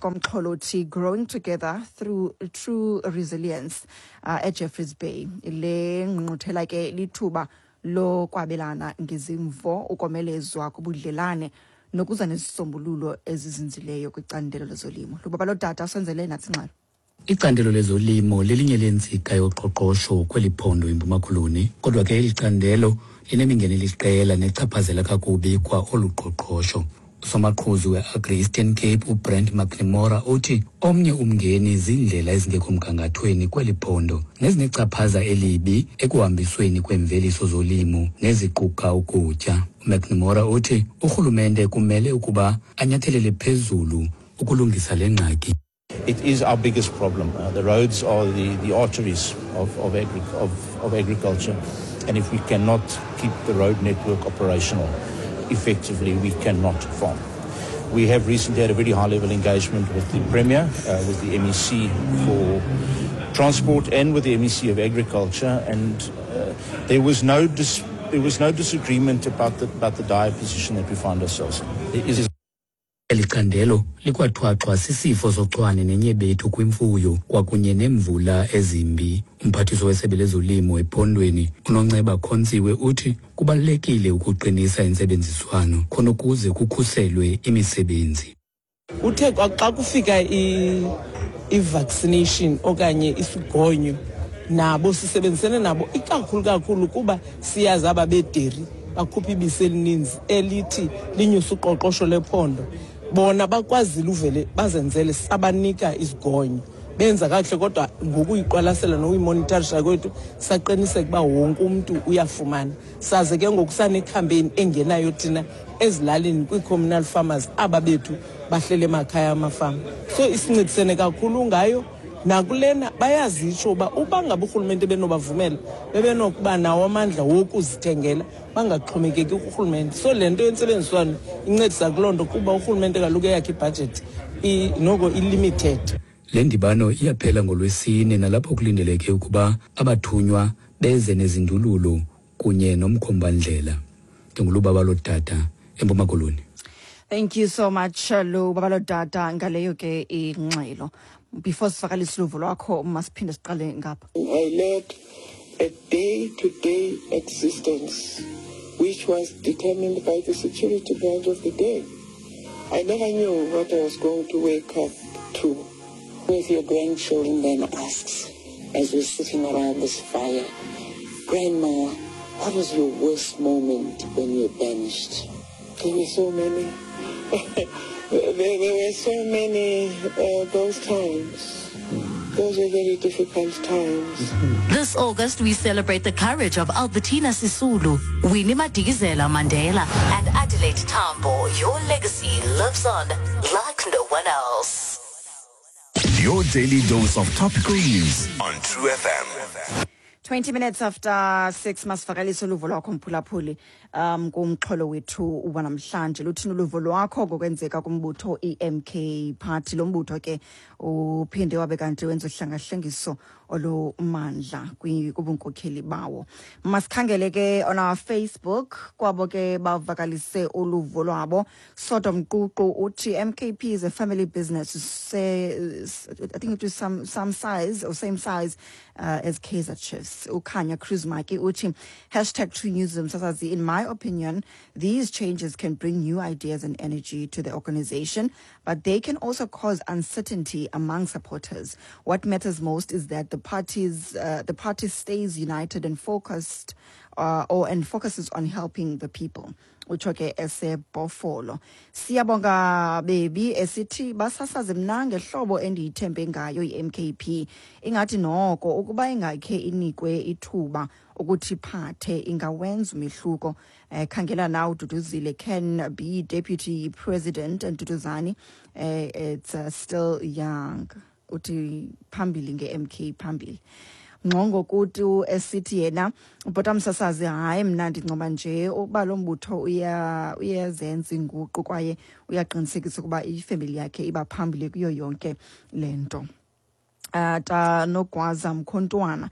komxholo othi Growing Together Through True Resilience eJeffreys Bay. Le ngqungquthela ke lithuba lokwabelana ngezimvo, ukomelezwa kobudlelane nokuza nezisombululo ezizinzileyo kwicandelo lezolimo. Lubabalo Dada usenzele nathi ingxelo. Icandelo lezolimo lelinye leentsika yoqoqosho kweli phondo iMpuma Koloni, kodwa ke eli candelo linemingeni eliqela nechaphazela kakubi kwa olu qoqosho. Usomaqhuzu we-Agri Eastern Cape uBrent McNamara uthi omnye umngeni ziindlela ezingekho mgangathweni kweli phondo nezinechaphaza elibi ekuhambisweni kweemveliso zolimo neziquka ukutya. UMcNamara uthi urhulumente kumele ukuba anyathelele phezulu ukulungisa le ngxaki. It is our biggest problem. The roads are the arteries of agriculture, and if we cannot keep the road network operational effectively, we cannot farm. We have recently had a very high-level engagement with the Premier, with the MEC for Transport and with the MEC of Agriculture, and there was no disagreement about the dire position that we find ourselves in. There is Eli candelo likwathwaxwa sisifo sochwane nenyebethu kwimfuyo kwakunye neemvula ezimbi. Umphathiswa wesebe lezolimo ephondweni uNonceba Khontsiwe uthi kubalulekile ukuqinisa intsebenziswano khona ukuze kukhuselwe imisebenzi. Uthe xa kufika i-vaccination okanye isigonyo, nabo sisebenzisene nabo ikakhulu kakhulu kuba siyazi aba bederi bakhupha ibisi elininzi elithi linyuse uqoqosho lephondo. Bona bakwazile uvele bazenzele, sabanika izigonyo, benza kakuhle, kodwa ngokuyiqwalasela nokuyimonitorisha kwethu saqiniseka uba wonke umntu uyafumana. Saze ke ngoku sanecampaign engenayo thina ezilalini kwii-communal farmers aba bethu bahlele emakhaya amafama, so isincedisene kakhulu ngayo. Nakulena bayazitsho uba ngaba urhulumente benobavumela, bebenokuba nawo amandla wokuzithengela, bangaxhomekeki kurhulumente. So le nto yentsebenziswano incedisa kuloo nto, kuba urhulumente kaloku eyakhe ibhajethi noko i-limited. Le ndibano iyaphela ngoLwesine, nalapho kulindeleke ukuba abathunywa beze nezindululo kunye nomkhombandlela. NdinguLubabalo Dada eMpuma Koloni. Thank you so much, Lubabalo Dada, ngaleyo ke ingxelo. Before sivakalise uluvo lwakho, masiphinde siqale ngapha. I led a day-to-day existence which was determined by the security branch of the day. I never knew what I was going to wake up to. If your grandchildren then asks, as we're sitting around this fire, "Grandma, what was your worst moment when you were banished?" There were so many. There were so many those times. Those were very difficult times. This August, we celebrate the courage of Albertina Sisulu, Winnie Madikizela Mandela, and Adelaide Tambo. Your legacy lives on like no one else. Your daily dose of topical news on True FM. 20 minutes after 6. Masivakalise uluvo lwakho, mphulaphuli, kumxholo wethu wanamhlanje. Luthini uluvo lwakho ngokwenzeka kumbutho i-MK Party? Lo mbutho ke uphinde wabe kanti wenza uhlangahlengiso olumandla kubunkokheli bawo. Masikhangele ke on our Facebook kwabo ke bavakalise uluvo lwabo. Sodom Ququ uthi MKP is a family business, say, I think it was some size or same size as Kaizer Chiefs. Ukhanya Cruz Maki uthi #TrueNews msasazi, in my opinion, these changes can bring new ideas and energy to the organization, but they can also cause uncertainty among supporters. What matters most is that the party stays united and focused or and focuses on helping the people. Utsho ke eseBhofolo. Siyabonga Bebi esithi basasaze, mna ngehlobo endiyithembe ngayo i-MKP, ingathi noko ukuba ingakhe inikwe ithuba ukuthi phathe ingawenza umehluko. Khangela na uDuduzile can be deputy president and Duduzani it's still young. Uthi phambili nge-MK, phambili. Ngxongo kutu esithi yena, bhota msasazi, hayi, mna ndincoma nje ukuba lo mbutho uyazenza inguqu kwaye uyaqinisekisa ukuba ifemeli yakhe iba phambili kuyo yonke le nto. Ta Nogwaza Mkhontwana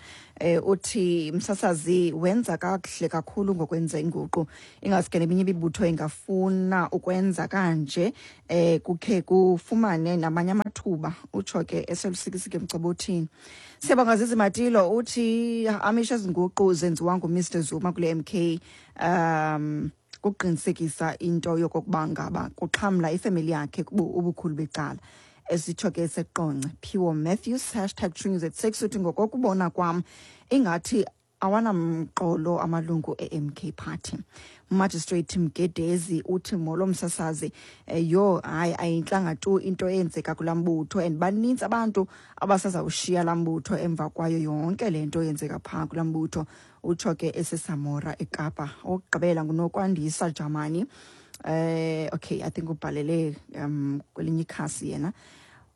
uthi msasazi, wenza kakuhle kakhulu ngokwenza inguqu, ingaske neminye imibutho ingafuna ukwenza kanje, kukhe kufumane namanye. ithuba, utsho ke eselusikisike emcobothini. Siyabonga Zizi Matilo, uthi amisha ezinguqu zenziwa nguMr Zuma kule MK kuqinisekisa into yokokuba ngaba kuxhamla ifemeli yakhe ubukhulu becala. Esitsho ke seqonce Phiwo Matthews #TrueNews at 6 uthi ngokokubona kwam ingathi awanamqolo amalungu e-MK Party. Magistrate Mgedezi uthi molo msasazi, yho hayi ayintlanga tu into eyenzeka kulaa mbutho and banintsi abantu abasazawushiya laa mbutho emva kwayo yonke le nto eyenzeka phaa kulaa mbutho, utsho ke eseSamora eKapa. Okugqibela nguNokwandisa Jamani. Okay, I think ubhalele kwelinye ikhasi yena.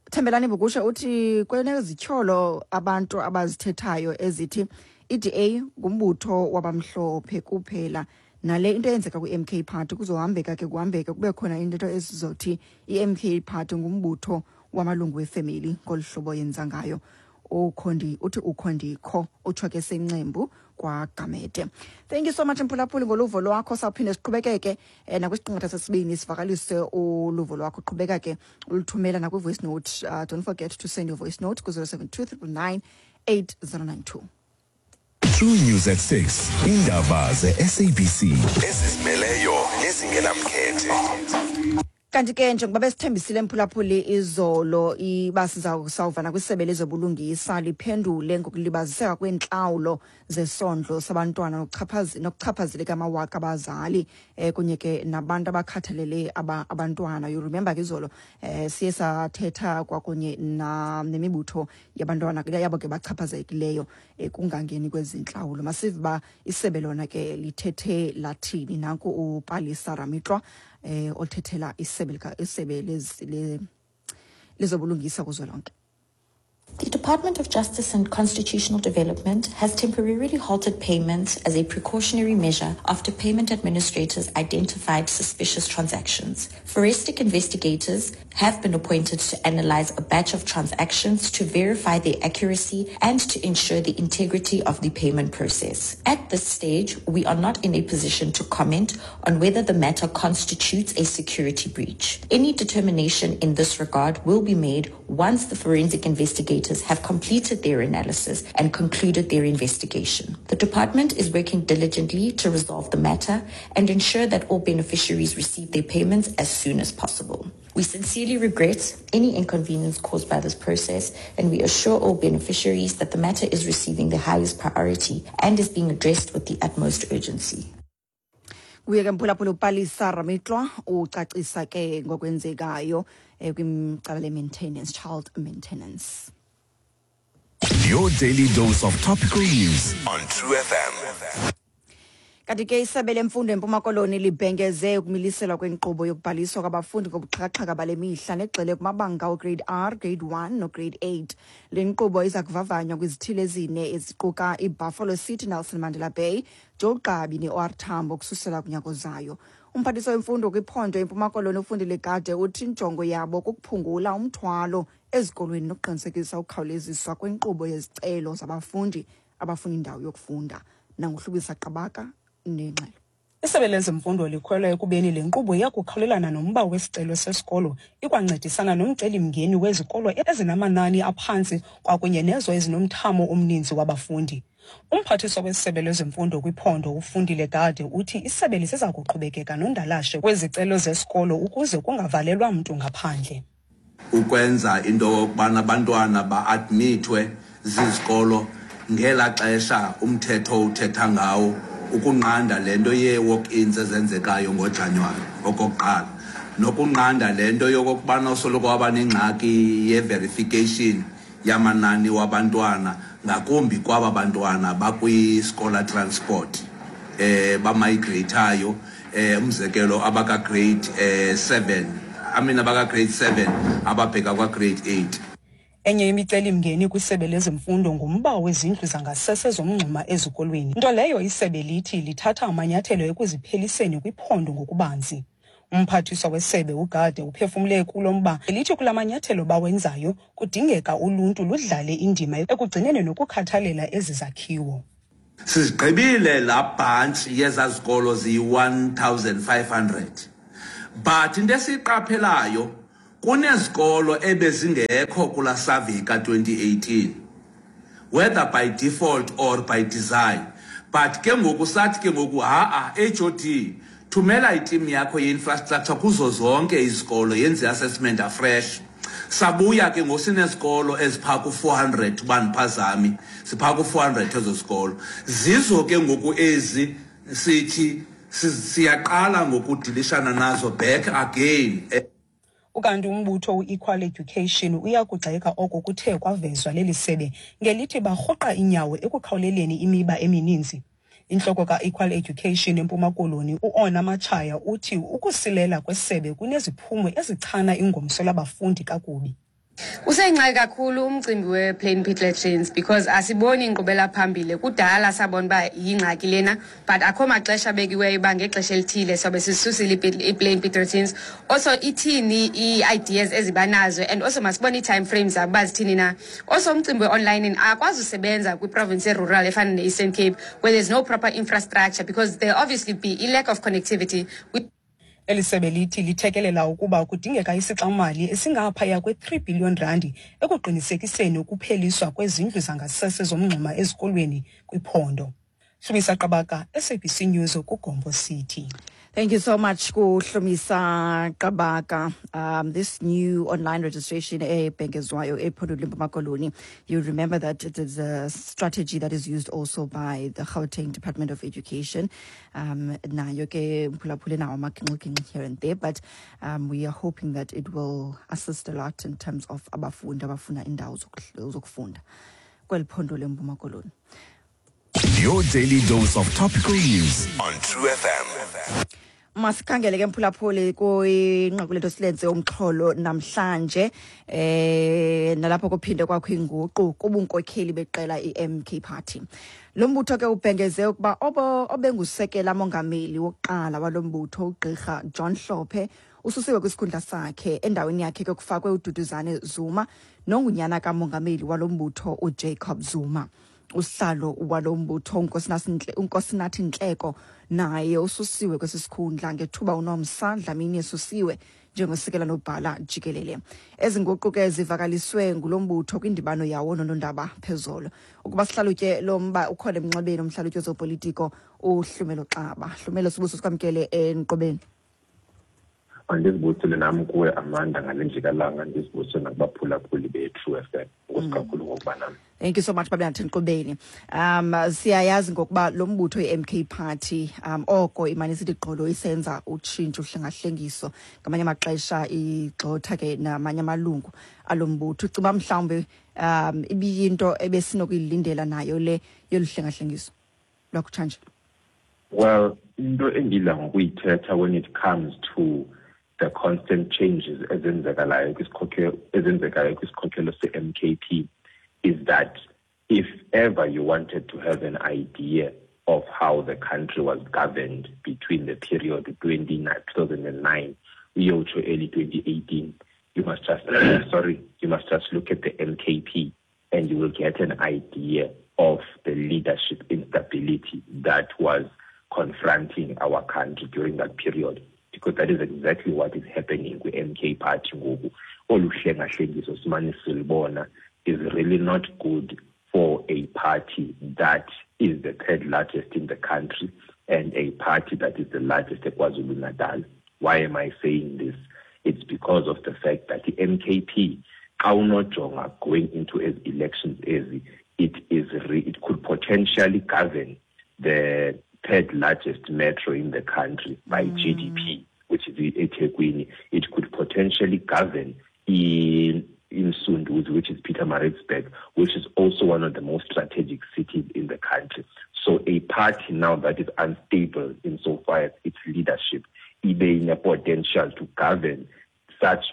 Thembelani Bukusha uthi kwenezityholo abantu abazithethayo ezithi iDA ngumbutho wabamhlophe kuphela, nale into eyenzeka kwi-MK Party kuzohambeka ke kuhambeke kube khona into esizothi i-MK Party ngumbutho wamalungu wefemeli ngolu hlobo yenza ngayo. Ukhondi uthi ukhondikho, utsho ke sencembu kwaGamede. Thank you so much mphulaphuli ngoluvo lwakho. Sawuphinde siqhubekeke nakwisiqingatha sesibini sivakalise uluvo lwakho. Qhubeka ke uluthumela nakwi-voice note. Don't forget to send your voice note ku-072 999 8092. True News at 6. Indaba ze-SABC ezizimeleyo nezingenamkhethe. Kanti ke njengoba besithembisile mphulaphuli izolo iba sizawuvana kwisebe lezobulungisa liphendule ngokulibaziseka kweentlawulo zesondlo sabantwana nokuchaphazeleka amawaka abazali kunye ke nabantu abakhathalele abantwana. You remember ke izolo siye sathetha kwakunye nemibutho yabantwana yabo ke bachaphazekileyo kungangeni kwezintlawulo. Masive uba isebe lona ke lithethe lathini. Nanku uPalesa Ramitlwa othethela isebe lezobulungisa kuzwelonke. The Department of Justice and Constitutional Development has temporarily halted payments as a precautionary measure after payment administrators identified suspicious transactions. Forensic investigators have been appointed to analyze a batch of transactions to verify their accuracy and to ensure the integrity of the payment process. At this stage, we are not in a position to comment on whether the matter constitutes a security breach. Any determination in this regard will be made once the forensic investigators have completed their analysis and concluded their investigation. The department is working diligently to resolve the matter and ensure that all beneficiaries receive their payments as soon as possible. We sincerely regret any inconvenience caused by this process, and we assure all beneficiaries that the matter is receiving the highest priority and is being addressed with the utmost urgency. Kuye ke mphulaphula uPalesa Ramitlwa ucacisa ke ngokwenzekayo kwicala le-maintenance, child maintenance. Your daily dose of topical news on True FM. Kanti ke isebe lemfundo eMpuma Koloni libhengeze ukumiliselwa kwenkqubo yokubhaliswa kwabafundi ngobuxhakaxhaka bale mihla negxile kumabanga ugrade R, grade 1 nograde 8. Le nkqubo iza kuvavanywa kwizithili ezine eziquka iBuffalo City, Nelson Mandela Bay, Joe Gqabi ne-OR Tambo kususela kunyaka ozayo. Umphathiswa wemfundo kwiphondo eMpuma Koloni uFundile Gade uthi injongo yabo kukuphungula umthwalo ezikolweni nokuqinisekisa ukukhawuleziswa kwenkqubo yezicelo zabafundi abafuna indawo yokufunda. Nanguhlubisa Qabaka nengxelo. Isebe lezemfundo likholelwa ekubeni le nkqubo iyakukhawulelana nomba wesicelo sesikolo, ikwancedisana nomcelimngeni wezikolo ezinamanani aphantsi kwakunye nezo ezinomthamo omninzi wabafundi. Umphathiswa wesebe lezemfundo kwiphondo uFundile Gade uthi isebe liseza kuqhubekeka nondalashe kwezicelo zesikolo ukuze kungavalelwa mntu ngaphandle. Ukwenza into yokubana abantwana ba-admithwe zizikolo ngela xesha umthetho uthetha ngawo, ukunqanda le nto yee-walk-ins ezenzekayo ngoJanuwari okokuqala, nokunqanda le nto yokokubana usoloko waba nengxaki ye-verification yamanani wabantwana, ngakumbi kwaba bantwana bakwi-scholar transport bamigratayo, umzekelo abaka-grade 7, I mean abaka-grade 7 ababheka kwa-grade 8. Enye imicelimngeni kwisebe lezemfundo ngumba wezindlu zangasese zomngxuma ezikolweni, nto leyo isebe lithi lithatha amanyathelo ekuzipheliseni kwiphondo ngokubanzi. Umphathiswa wesebe uGade uphefumle kulo mba elithi kula manyathelo bawenzayo kudingeka uluntu ludlale indima ekugcineni nokukhathalela ezi zakhiwo. Sizigqibile laa bhantshi yezaa zikolo ziyi-1500, but into esiyiqaphelayo Kunezikolo ebezingekho kula survey ka-2018, whether by default or by design, but ke ngoku sathi ke ngoku ha-a, HOD, thumela iteam yakho ye-infrastructure kuzo zonke izikolo, yenze i-assessment afresh. Sabuya ke ngoku sinezikolo eziphaa ku-400, uba ndiphazami, siphaa ku-400 ezo zikolo. Zizo ke ngoku ezi sithi siyaqala ngokudilishana nazo back again. Ukanti umbutho u-Equal Education uyakugxeka oko kuthe kwavezwa leli sebe ngelithi barhuqa inyawo ekukhawuleleni imiba emininzi. Intloko ka-Equal Education eMpuma Koloni u-Ona Matshaya uthi ukusilela kwesebe kuneziphumo ezichana ingomso labafundi kakubi. Useyingxaki kakhulu umcimbi we-plain pit latrines because asiboni inkqubela phambili. Kudala sabona uba yingxaki lena, but akho maxesha abekiweyo uba ngexesha elithile sobe sisusile i-plain pit latrines. Also ithini ii-ideas ezibanazo, and also masibone ii-time frames zabo uba zithini na. Also umcimbi we-online akwazi usebenza kwiprovince erural efana ne-Eastern Cape where there's no proper infrastructure, because there obviously be i-lack of connectivity. Eli sebe lithi lithekelela ukuba kudingeka isixamali esingaphaya kwe-3 billion randi ekuqinisekiseni ukupheliswa kwezindlu zangasese zomngxuma ezikolweni kwiphondo. Hlumisa Qabaka, SABC News, kuGompo City. Thank you so much, Kuhlumisa Qabaka. This new online registration ebhengezwayo ephondweni leMpuma Koloni, you remember that it is a strategy that is used also by the Gauteng Department of Education. Nayo ke mphulaphuli nawo amagingxigingxi here and there, but we are hoping that it will assist a lot in terms of abafundi abafuna indawo zokufunda kweli phondo leMpuma Koloni. Your daily dose of topical news on True FM. Masikhangele ke mphulaphuli kwinqaku lethu silenze umxholo namhlanje, nalapho kuphinde kwakho inguqu kubunkokheli beqela iMK Party. Lo mbutho ke ubhengeze ukuba obengusekela mongameli wokuqala walo mbutho uGqirha John Hlophe ususiwe kwisikhundla sakhe, endaweni yakhe ke kufakwe uDuduzane Zuma nongunyana kamongameli walo mbutho uJacob Zuma. Usihlalo walo mbutho uNkosinathi Nhleko naye ususiwe kwesi sikhundla ngethuba uNomsa Dlamini esusiwe njengosekela nobhala jikelele. Ezi nguqu ke zivakaliswe ngulo mbutho kwindibano yawo nonondaba phezolo. Ukuba sihlalutye lo mba ukhona emnxebeni umhlalutyi wezopolitiko uHlumelo Xaba. Hlumelo, sibuso sikwamkele enkqubeni. Andizibusile nam kuwe Amanda ngale njikalanga, ndizibusile nakubaphulaphuli be-True FM. Enkosi kakhulu ngokuba nam. Thank you so much, Babinathi Nkqubeni. Siyayazi ngokuba lo mbutho i-MK Party oko imane isithi gqolo isenza utshintsho uhlengahlengiso, ngamanye amaxesha igxotha ke namanye amalungu alo mbutho. Ucinga mhlawumbi ibiyinto ebesinokuyilindela nayo le yolu hlengahlengiso lwakutshanje? Well, into endidla ngokuyithetha when it comes to the constant changes ezenzekalayo ezenzekayo kwisikhokelo se-MKP is that if ever you wanted to have an idea of how the country was governed between the period 2009 uyotsho early 2018, you must just sorry, you must just look at the MKP and you will get an idea of the leadership instability that was confronting our country during that period, because that is exactly what is happening with MK Party ngoku. Olu hlengahlengiso simane silibona is really not good for a party that is the third largest in the country and a party that is the largest at KwaZulu-Natal. Why am I saying this? It's because of the fact that the MKP, xa unojonga going into as elections ezi, it could potentially govern the third largest metro in the country by GDP, which is eThekwini. It could potentially govern in Msunduzi, which is Pietermaritzburg, which is also one of the most strategic cities in the country. So a party now that is unstable insofar as its leadership, ibe ine potential to govern such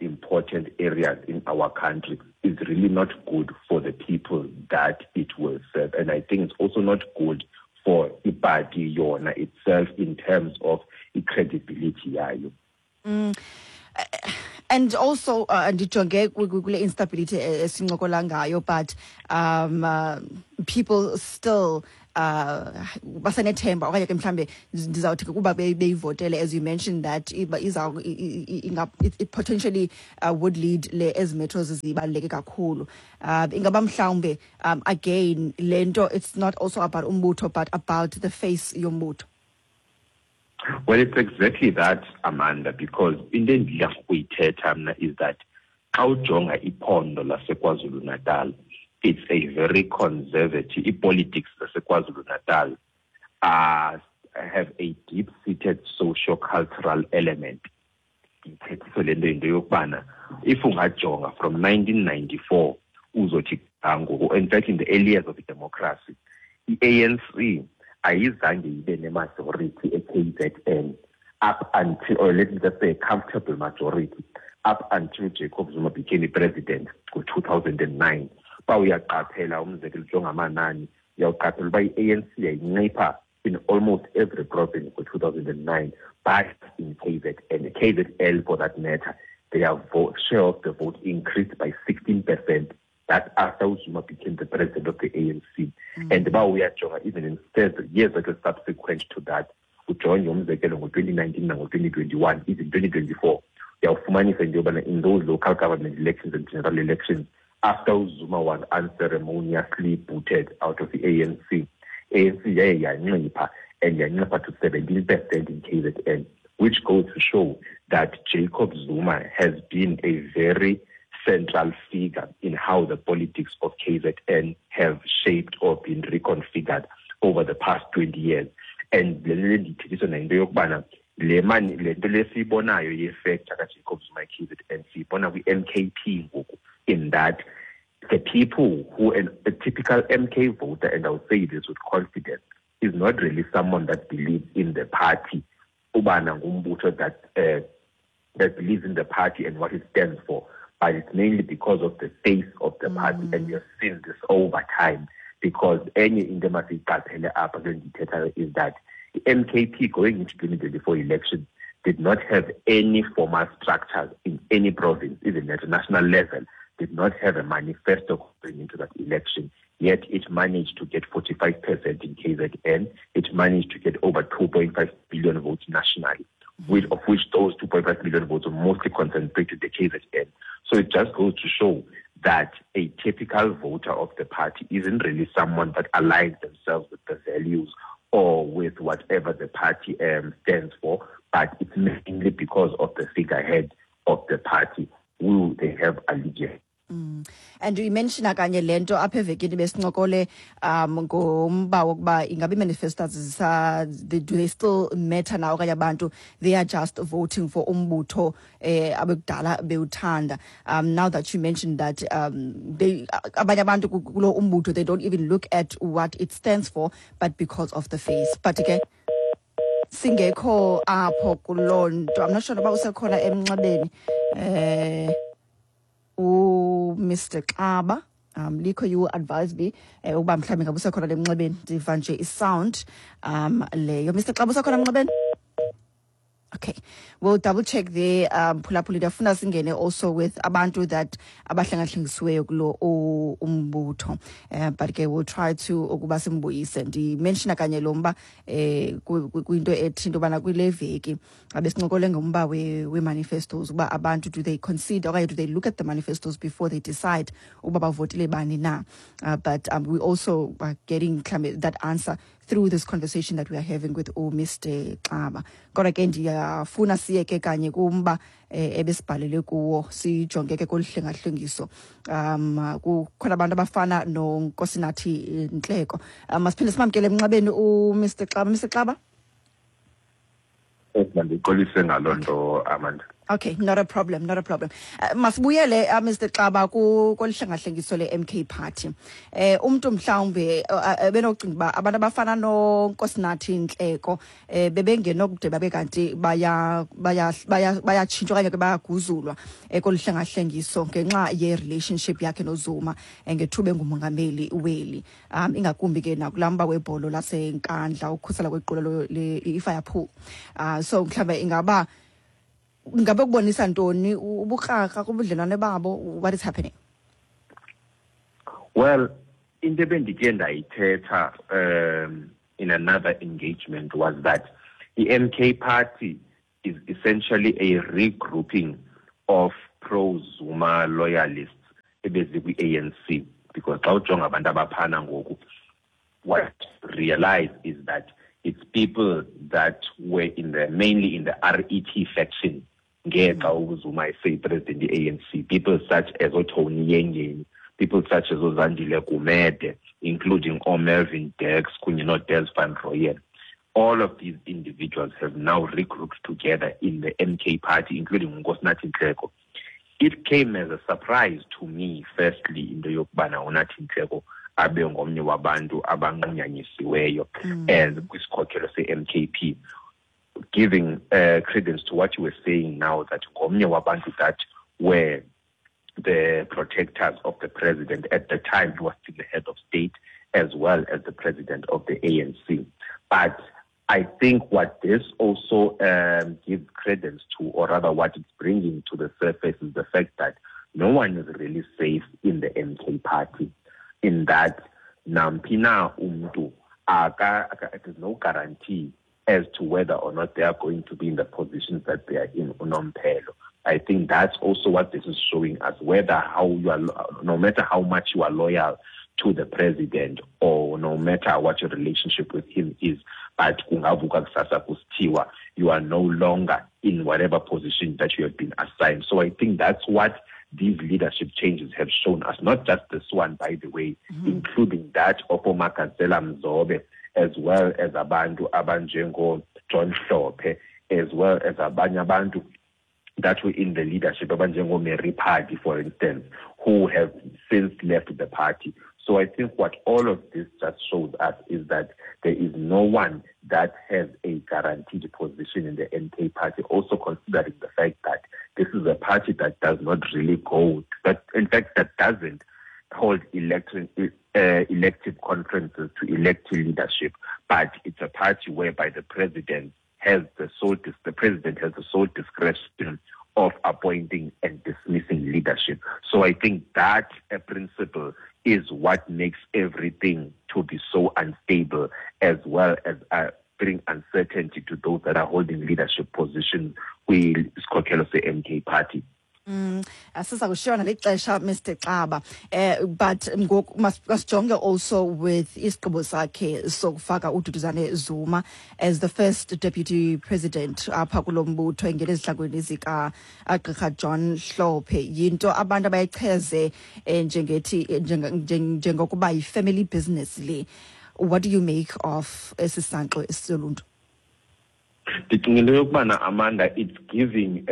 important areas in our country is really not good for the people that it will serve. And I think it's also not good for iparty yona itself in terms of credibility yayo. And also ndijonge kule instability esincokola ngayo, but people still Basenethemba okanye ke mhlambe ndizawuthi ke kuba beyivotele, as you mentioned that iza it potentially would lead le ezi metros zibaluleke kakhulu. Ingaba mhlawumbe again le nto, it's not also about umbutho but about the face yombutho? Well, it's exactly that, Amanda, because into endidla ngokuyithetha mna is that xa ujonga iphondo laseKwaZulu-Natal, it's a very conservative, i-politics zaseKwaZulu-Natal have a deep-seated socio-cultural element. Ndithethiswe le nto yinto yokubana if ungajonga from 1994 uzothi ngoku, in fact in the early years of democracy, i-ANC ayizange ibe ne-majority e-KZN up until, or let me just say a comfortable majority, up until Jacob Zuma became president ngo-2009. Uba uyaqaphela, umzekelo, ujonga amanani, uyawuqaphela uba i-ANC yayincipha in almost every province ngo-2009, but in KZN, KZL for that matter, their vote, share of the vote increased by 16%. That's after Zuma became the president of the ANC. And uba uyajonga even in years that were subsequent to that, ujonge umzekelo ngo-2019 nango-2021, even 2024, uyawufumanisa into yobana in those local government elections and general elections, after Zuma was unceremoniously booted out of the ANC, ANC yaye yancipha, and yancipha to 17% in KZN, which goes to show that Jacob Zuma has been a very central figure in how the politics of KZN have shaped or been reconfigured over the past 20 years. And le nto ndiyithethiswa nayinto yokubana le mani le nto lesiyibonayo ye-factor kaJacob Zuma e-KZN siyibona kwi-MKP ngoku, in that the people who, a typical MK voter, and I would say this with confidence, is not really someone that believes in the party, ubana ngumbutho that believes in the party and what it stands for, but it's mainly because of the face of the party. And we have seen this over time, because enye into emasiyiqaphele apha kule ndiyithethayo is that the MKP going into 2024 elections did not have any formal structures in any province, even at a national level, did not have a manifesto going into that election. Yet it managed to get 45% in KZN. It managed to get over 2.5 billion votes nationally, of which those 2.5 million votes were mostly concentrated in the KZN. So it just goes to show that a typical voter of the party isn't really someone that aligns themselves with the values or with whatever the party stands for, but it's mainly because of the figurehead of the party who they have allegiance. And you mention kanye le nto apha evekini besincokole ngomba wokuba ingabe ii-manifestos do they still matter now, okanye abantu they are just voting for umbutho abekudala bewuthanda. Now that you mentioned that they abanye abantu kulo umbutho, they don't even look at what it stands for, but because of the face. But ke singekho apho kuloo nto, I'm not sure noba usekhona emnxebeni uMr Xaba. Likho, you advise me ukuba mhlawumbe ngabe usekhona lemnxebeni, ndiva nje i-sound leyo. Mr Xaba, usekhona emnxebeni? Okay, we'll double check there. Phulaphula, ndiyafuna singene also with abantu that abahlengahlengisiweyo kulo umbutho. But ke we'll try to ukuba simbuyise. Ndimentiona kanye lo mba kwinto ethi into yobana kule veki abesincokole ngomba we-manifestos, uba abantu do they consider okanye do they look at the manifestos before they decide uba bavotele bani na. But we also are getting mhlawumbe that answer through this conversation that we are having with uMr Xaba. Kodwa ke ndiyafuna siye ke kanye kumba ebesibhalele kuwo, sijonge ke kolu hlengahlengiso. Kukhona abantu abafana noNkosinathi Ntleko. Masiphinde simamkele emnxebeni uMr Xaba. Mr Xaba? Mandixolise ngaloo nto, Amanda. Okay, not a problem, not a problem. Masibuyele Mr Xaba kolu hlengahlengiso le-MK Party. Umntu mhlawumbe benocinga uba abantu abafana noNkosinathi Ntleko bebengenokude babe kanti bayatshintshwa okanye ke bayaguzulwa kolu hlengahlengiso ngenxa ye-relationship yakhe noZuma ngethuba engumongameli weli. Ingakumbi ke nakulaa mba webholo laseNkandla, ukukhusela kwequla i-Firepool. So mhlawumbe ingaba ngabe kubonisa ntoni ubukrakra kubudlelwane babo? What is happening? Well, Into ebendike ndayithetha in another engagement was that the MK party is essentially a regrouping of pro-Zuma loyalists ebezikwi-ANC, because xa ujonga abantu abaphana ngoku, what realize is that it's people that were in the mainly in the RET faction ngexa uZuma eseyi-president ye-ANC, people such as oTony Yengeni, people such as oZandile Gumede, including oMelvin Dex kunye noDes van Rooyen. All of these individuals have now regrouped together in the MK party, including uNkosinathi Nhleko. It came as a surprise to me, firstly, into yokubana uNathi Nhleko abe ngomnye wabantu abanqunyanyisiweyo as kwisikhokelo se-MKP, giving credence to what you were saying now, that ngomnye wabantu that were the protectors of the president at the time he was still the head of state, as well as the president of the ANC. But I think what this also gives credence to, or rather what it's bringing to the surface, is the fact that no one is really safe in the MK party, in that nampina umntu there's no guarantee as to whether or not they are going to be in the positions that they are in unomphelo. I think that's also what this is showing us, whether how you are, no matter how much you are loyal to the president or no matter what your relationship with him is, but kungavuka kusasa kusithiwa, you are no longer in whatever position that you have been assigned. So I think that's what these leadership changes have shown us, not just this one, by the way, including that of Omakazela Mzobe, as well as abantu abanjengo John Hlophe, as well as abanye abantu that were in the leadership, abanjengo Mary Phadi, for instance, who have since left the party. So I think what all of this just shows us is that there is no one that has a guaranteed position in the MK party, also considering the fact that this is a party that does not really go, that in fact that doesn't hold elective conferences to elect leadership, but it's a party whereby the president has the sole the president has the sole discretion of appointing and dismissing leadership. So I think that a principle is what makes everything to be so unstable, as well as bring uncertainty to those that are holding leadership positions kwisikhokelo se-MK party. Asiza kushiyana lixesha, Mr Xaba, but ngoku masijonge also with isigqibo sakhe sokufaka uDuduzane Zuma as the first deputy president apha kulo mbutho, engena ezihlangweni zika Gqirha John Hlophe. Yinto abantu abayicheze njengethi njengokuba yi-family business le. What do you make of esi sankxo esoluntu? Ndicinga into yokubana, Amanda, it's giving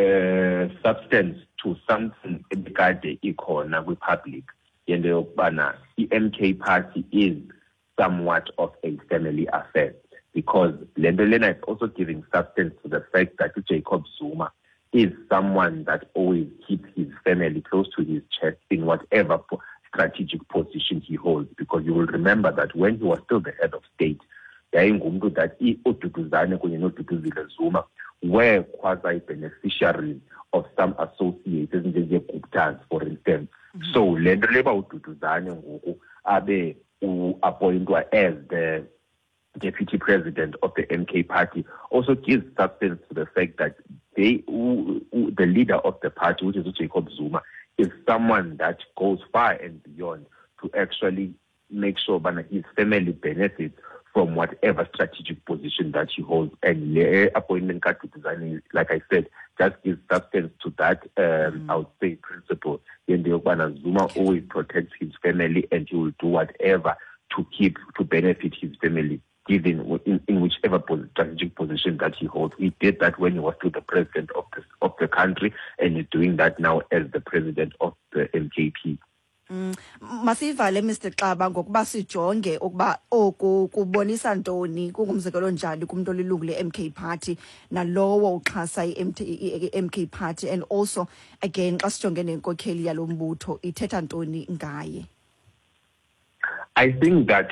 substance to something ebikade ikhona kwi-public, yento yokubana i-MK party is somewhat of a family affair, because le nto lena is also giving substance to the fact that uJacob Zuma is someone that always keeps his family close to his chest in whatever strategic position he holds, because you will remember that when he was still the head of state, yayingumntu that uDuduzane kunye noDuduzile Zuma were quasi-beneficiaries of some associates ezinjenge-Guptas, for instance. So le nto le uba uDuduzane ngoku abe u-appointwa as the deputy president of the MK party also gives substance to the fact that the leader of the party, which is Jacob Zuma, is someone that goes far and beyond to actually make sure that his family benefits from whatever strategic position that he holds. And the appointment kaDuduzane, like I said, just gives substance to that, I would say, principle. Zuma always protects his family, and he will do whatever to benefit his family, given in whichever strategic position that he holds. He did that when he was still the president of the country, and he's doing that now as the president of the MKP. Masivale, Mr Xaba, ngokuba sijonge ukuba oku kubonisa ntoni, kungumzekelo njani kumuntu olilungu le-MK Party nalowo uxhasa i-MK Party, and also again xa sijonge nenkokheli yalo mbutho, ithetha ntoni ngaye? I think that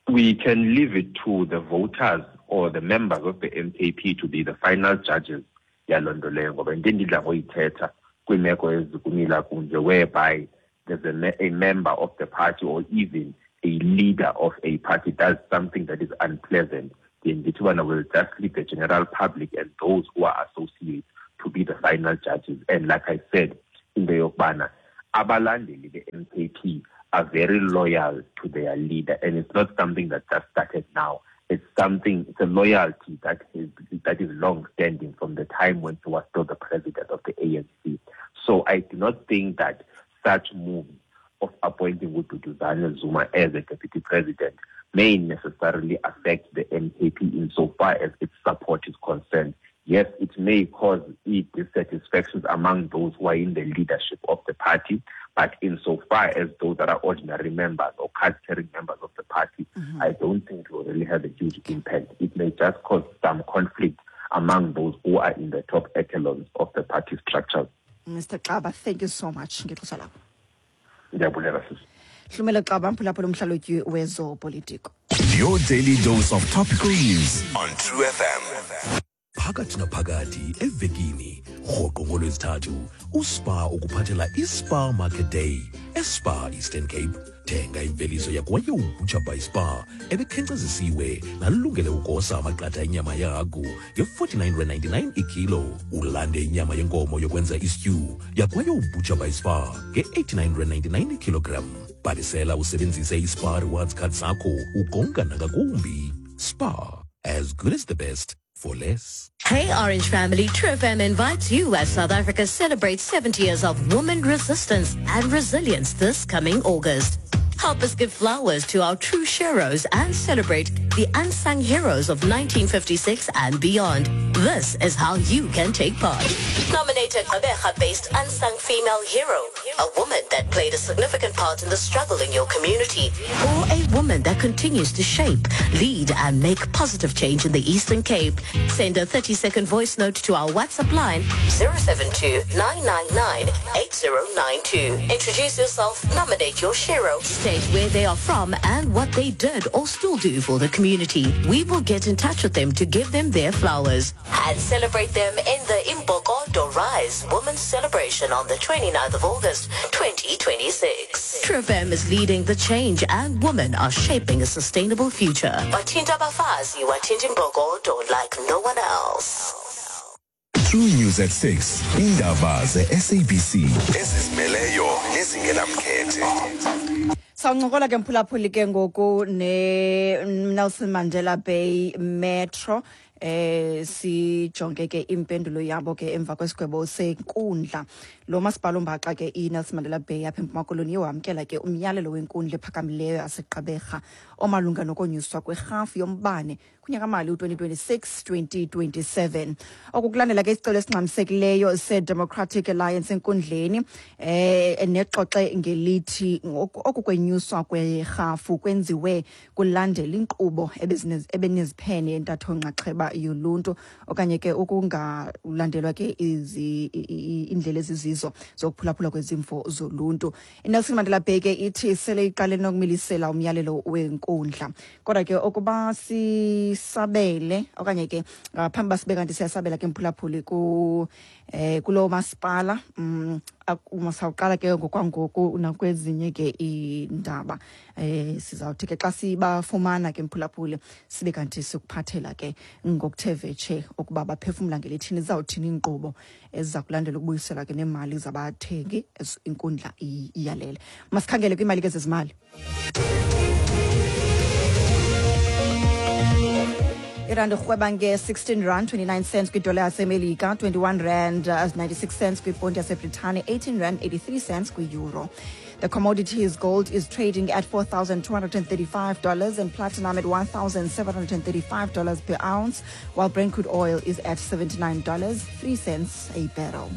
we can leave it to the voters or the members of the MKP to be the final judges yaloo nto leyo, ngoba into endidla ngoyithetha kwiimeko ezikumila kunje, whereby there's a member of the party or even a leader of a party does something that is unpleasant, then Lithuania will just leave the general public and those who are associates to be the final judges. And like I said, in the yokubana, abalandeli be-MKP are very loyal to their leader, and it's not something that just started now. It's something, it's a loyalty that is that is long-standing from the time when he was still the president of the ANC. So I do not think that such moves of appointing Duduzane Zuma as a deputy president may necessarily affect the MKP insofar as its support is concerned. Yes, it may cause dissatisfactions among those who are in the leadership of the party, but insofar as those that are ordinary members or card-carrying members of the party, mm-hmm. I don't think it will really have a huge impact. It may just cause some conflict among those who are in the top echelons of the party structure. Mr. Xaba, thank you so much. Ngexesha lakho. Ndiyabulela sisi. Hlumelo Xaba, mphulaphula umhlalutyi wezopolitiko. Your daily dose of topical news on True FM. Phakathi naphakathi evekini rhoqo ngolwezithathu uSpar ukuphathela iSpar Market Day eSpar Eastern Cape. Thenga imveliso yakwayo Butcher by Spar ebekhenkcezisiwe nalungele ukosa amaqatha enyama yehagu nge-49.99 ikilo. Ulande inyama yenkomo yokwenza istew yakwayo Butcher by Spar nge-89.99 ikilogram. Bhalisela usebenzise iSpar Rewards Card sakho ukonga nangakumbi. Spar, as good as the best for less. Hey Orange family, True FM invites you as South Africa celebrates 70 years of woman resistance and resilience this coming August. Help us give flowers to our true heroes and celebrate the unsung heroes of 1956 and beyond. This is how you can take part. Nominate a Gqeberha-based unsung female hero, a woman that played a significant part in the struggle in your community, or a woman that continues to shape, lead, and make positive change in the Eastern Cape. Send a 30-second voice note to our WhatsApp line 072-999-8092. Introduce yourself, nominate your hero, state where they are from and what they did or still do for the community. We will get in touch with them to give them their flowers and celebrate them in the Imbokodo Rise Women's Celebration on the 29th of August, 2026. True FM is leading the change and women are shaping a sustainable future. Bathinta abafazi, wathinta imbokodo like no one else. True News at 6. Indaba ze-SABC ezizimeleyo nezingenamkhethe. Sawuncokola ke mphulaphuli ke ngoku ne-Nelson Mandela Bay Metro sijonge ke impendulo yabo ke emva kwesigwebo senkundla. Lo masipala ombaxa ke iNelson Mandela Bay apha eMpuma Koloni wamkela ke umyalelo wenkundla ephakamileyo yaseGqeberha omalunga nokonyuswa kwerhafu yombane kunyakamali u-2026-2027. Oku kulandela ke isicelo esingxamisekileyo se-Democratic Alliance enkundleni nexoxe ngelithi oku kwenyuswa kwerhafu kwenziwe kulandela inkqubo ebeneziphene entatho nxaxheba yoluntu okanye ke ukungalandelwa ke iindlela ezizizo zokuphulaphula kwezimvo zoluntu. INelson Mandela Bay ke ithi sele iqale nokumilisela umyalelo wenkundla. Kodwa ke ukuba sisabele okanye ke phambi uba sibe kanti siyasabela ke mphulaphuli kulo masipala masawuqala ke ngokwangoku nakwezinye ke iindaba sizawuthi ke xa sibafumana ke mphulaphuli sibe kanti sikuphathela ke ngokuthe vetshe ukuba baphefumla ngelithini, zizawuthini iinkqubo eziza kulandela ukubuyisela ke neemali zabathengi inkundla iyalele. Masikhangele kwiimali ke zezimali. Irandi irhweba nge-16 rand 29 cents kwidola yaseMelika, 21 rand 96 cents kwiponti yaseBritane, 18 rand 83 cents kwi-euro. The commodities gold is trading at $4,235 and platinum at $1,735 per ounce, while Brent crude oil is at $79.03 a barrel.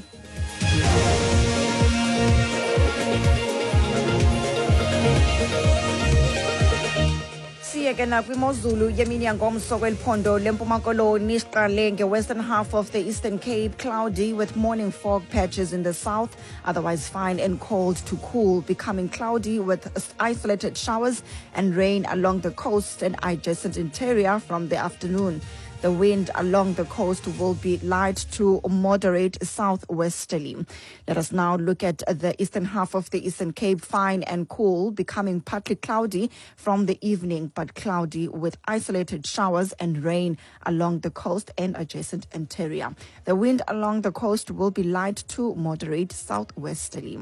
Siye ke nakwimozulu yemini yangomso kweli phondo leMpuma Koloni. Siqale nge-western half of the Eastern Cape, cloudy with morning fog patches in the south, otherwise fine and cold to cool, becoming cloudy with isolated showers and rain along the coast and adjacent interior from the afternoon. The wind along the coast will be light to moderate southwesterly. Let us now look at the eastern half of the Eastern Cape, fine and cool, becoming partly cloudy from the evening, but cloudy with isolated showers and rain along the coast and adjacent interior. The wind along the coast will be light to moderate southwesterly.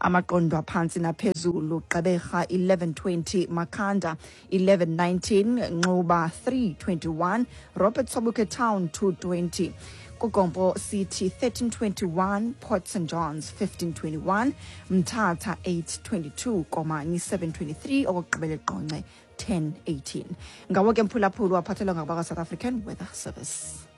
Amaqondo aphantsi naphezulu: Gqeberha 1120, Makhanda 1119, Nxuba 321, Robert Sobukwe Town 220, KuGompo City 1321, Port St Johns 1521, Mthatha 822, Komani 723, okokugqibela eQonce 1018. Ngawo ke, mphulaphuli, waphathelwa ngabakwa-South African Weather Service.